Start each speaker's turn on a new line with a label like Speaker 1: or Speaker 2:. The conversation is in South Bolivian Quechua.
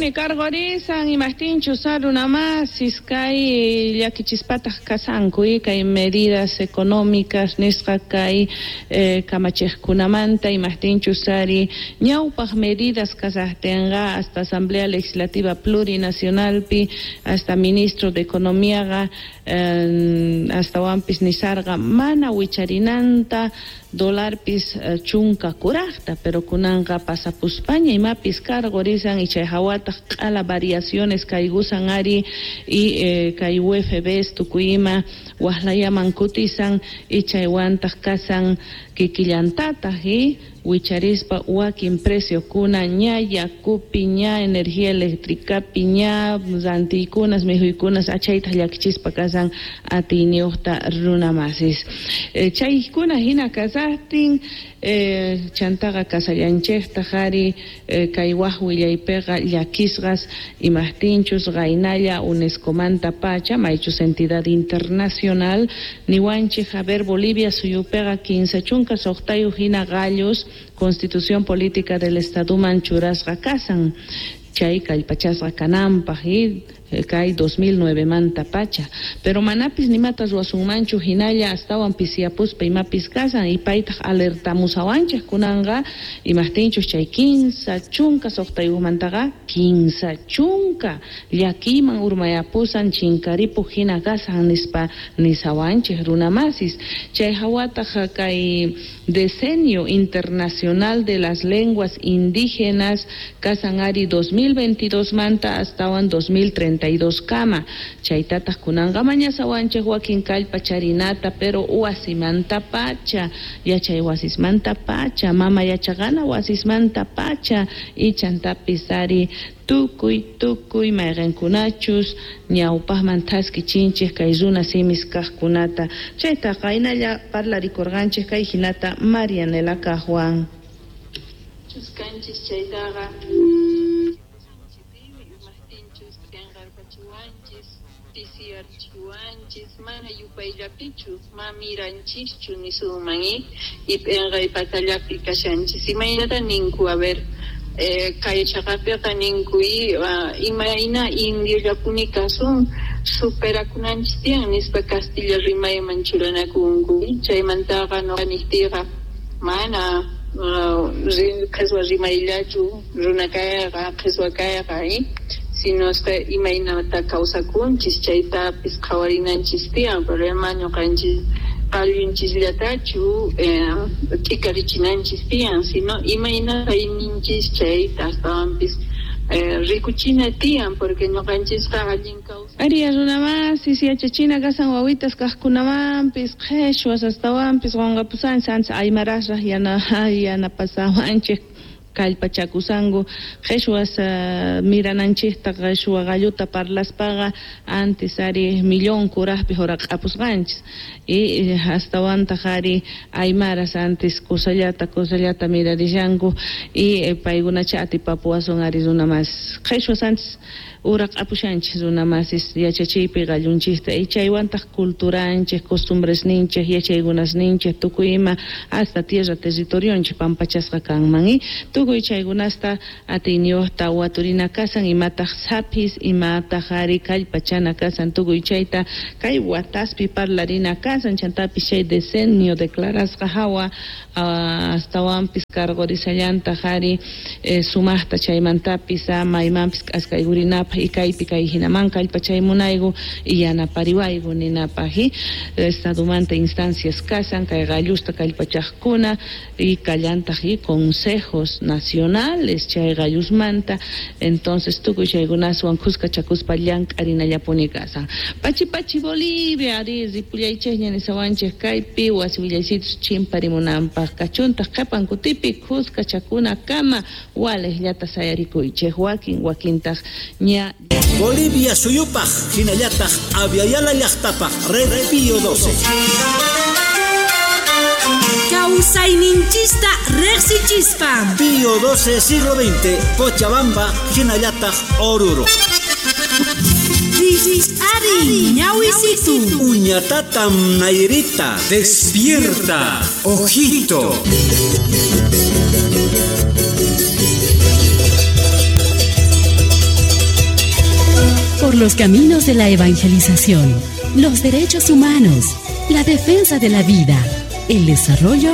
Speaker 1: Chaypuni karqurisan imajtinchus runamasis kay llakichispataj kasanku kay medidas económicas nisqa kay kamachejkunamanta imajtinchus ari ñawpaj medidas kasajtinqa hasta Asamblea Legislativa Plurinacionalpi hasta ministro de Economíaqa astawanpis nisarqa mana wicharinanta dolarpis chunka kurajta, pero kunanqa pasapuspaña imapis karqurisan y chay hawataq q'ala variaciones kaykusan ari y kay UFBs tukuy ima waqlayaman kutisan y chaywantaq kasan kikillantataq y wicharispa wakin preciokuna ña yakupi ña energía eléctricapi ña rantiykunas mikhuykunas achaytaq llakichispa kasan atiyniyuqta runamasis. Chaykuna hina kasaqtin chantaqa kasallanchikta ari kay waj willaypiqa llakisqas imajtinchus qaynalla UNESCOmanta pacha maychus entidad internacional niwanchik a ver Bolivia suyupiqa 36 hina qallus Constitución Política del Estaduman churasqa kasan chay kallpachasqa kananpaq y kay 2009 manta pacha, pero manapis nimata ruwasunmanchu hinalla astawan pisiyapuspa imapis kasan y paytaq alertamusawanchik kunanqa imajtinchus chay 56mantaqa 30 llakiyman urmayapusan chinkaripuq hina kasan nispa nisawanchik runamasis. Chay hawataq kay Decenio Internacional de las Lenguas Indígenas kasan ari 2022 manta astawan 2032 kama, chaytataq kunanqa mañasawanchik wakin kallpa charinata pero wasimanta pacha, yachay wasismanta pacha, mama yachaqana wasismanta pacha y chantapis ari tukuy mayqinkunachus ñawpaqman thaskichinchik kay runa simis kaqkunata. Chayta qaynalla parlarikurqanchik kay hinata Marianela kaqwan.
Speaker 2: Chuskanchis chaytaqa pisiyarchiwanchis mana yupayllapichu mamiranchischu nisunman y p'enqaypatallapi kashanchis. Imaynata ninku a ver kay chaqapiqa ninku imayna indiollapuni kasun superakunanchis tiyan nispa Castilla rimayman churanakunku. Chaymantaqa nuqa niqtiyqa mana qheswa rimayllachu runa kayqa qheswa kayqa sino imaynata kawsakunchis chaytapis qhawarinanchis tiyan problema ñuqanchis qallunchisllatachu t'ikarichinanchis tiyan sino imayna kayninchis chayta astawanpis rikuchina tiyan porque ñuqanchisqa allin kawsay.
Speaker 1: Ariya runamasis yachachina kasan wawitas kaqkunamanpis qheshwas astawanpis qunqapusanchis ancha aymarasraq yanapasawanchik kallpachakusanku qheshwas mirananchikta qheshwa qalluta parlaspaqa antes ari millón kuraqpi huraq'apusqanchis y astawantaq ari aymaras antes kusallata mirarishanku y paykunacha atipapuwasun ari runamasis qheshwas antes uraq'apushanchis runamasis yachachiypi qallunchikta y chaywantaq culturanchik costumbresninchik yachaykunasninchik tukuy ima hasta tierra territorionchik pampachasqa kanman y tukuy chaykunasta atiyniyuqta waturina kasan imataq sapis imataq ari kallpachana kasan tukuy chayta kay wataspi parlarina kasan chantapis chay decenio declarasqa hawa astawanpis karqurisallantaq ari sumaqta chaymantapis maymanpis k'askaykurinapaq y kaypi kay hinaman kallpachaymunayku y yanapariwayku ninapaq y estadumanta instancias kasan kay qallusta kallpachaqkuna y kallantaq y consejos nacionales chay qallusmanta entonces tukuy chaykunaswan khuskachakuspa llank'arinallapuni kasan. Pachi pachi Bolivia ari ripullaychikña nisawanchik kaypi wasi willaysitus chimparimunanpaq kachuntaq qhipan kutipi khuskachakuna kama waliqllata sayarikuychik wakin wakintaq ña
Speaker 3: Bolivia suyupaq hinallataq Aviala llaqtapaq Red Pío 12.
Speaker 4: Kawsayninchista riqsichispa
Speaker 3: Pío 12 siglo XX, Cochabamba, hinallataq Oruro.
Speaker 4: Ari, ñawisitu.
Speaker 3: Uñatatam Nairita.
Speaker 5: Despierta, ojito.
Speaker 6: Por los caminos de la evangelización, los derechos humanos, la defensa de la vida, el desarrollo